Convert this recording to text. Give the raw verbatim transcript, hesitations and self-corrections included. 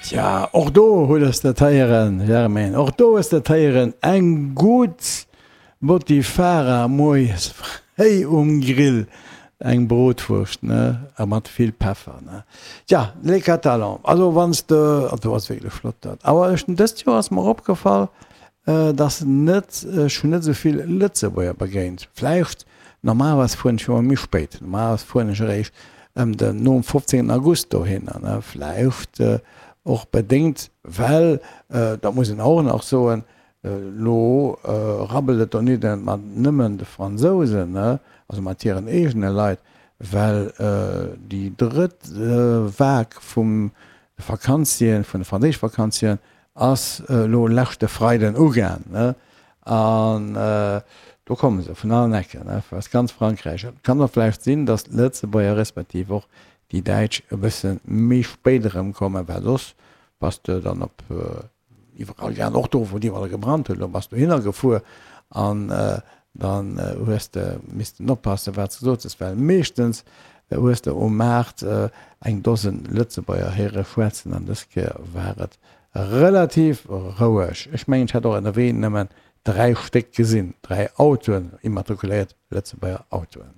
Tja, och do hues de et héieren, Germaine, och do hues de et héieren, eng gutt Botifara moies fréi um Grill, eng Brotwurscht, ne, a mat vill Peffer, ne. Tja, les Catalans, also wann s de, also ass wierklech flott dat. Awer ech, dëst Joer ass mer opgefall, dass net, ech hunn net esou vill Lëtzebuerger begéint. Vläicht, normalerweis fueren ech jo méi spéit, normalerweis fueren ech eréischt ëm den, nom fofzéngten August dohinner, ne, vläicht och bedéngt, well, dat muss een och nach soen, elo rabbelt et donidden mat nëmmen de Fransousen, ne, also mat hiren eegene Leit, well déi drëtt Vague vum de Vakanzien, vun de franséische Vakanzien ass elo leschte Freiden ugaang, ne, an do komme se vun allen Ecken, ne, aus ganz Frankräich. Et kann och vläicht sinn, datt d'Lëtzebuerger respektiv och déi Däitsch e bësse méi spéit erëmkommen, well soss bass de dann op iwwerall gaang, och do wou et iwwerall gebrannt huet, elo bass dohinner gefuer an dann hues de missten oppassen, wat s de gesot hues, well meeschtens hues de um Maart eng Dosen Lëtzebuerger héiere schwätzen an dës Kéier war et relativ roueg. Ech mengen, ech hat och ënnerwee nëmmen dräi Stéck gesinn, dräi Autoen, immatrikuléiert Lëtzebuerger Autoen.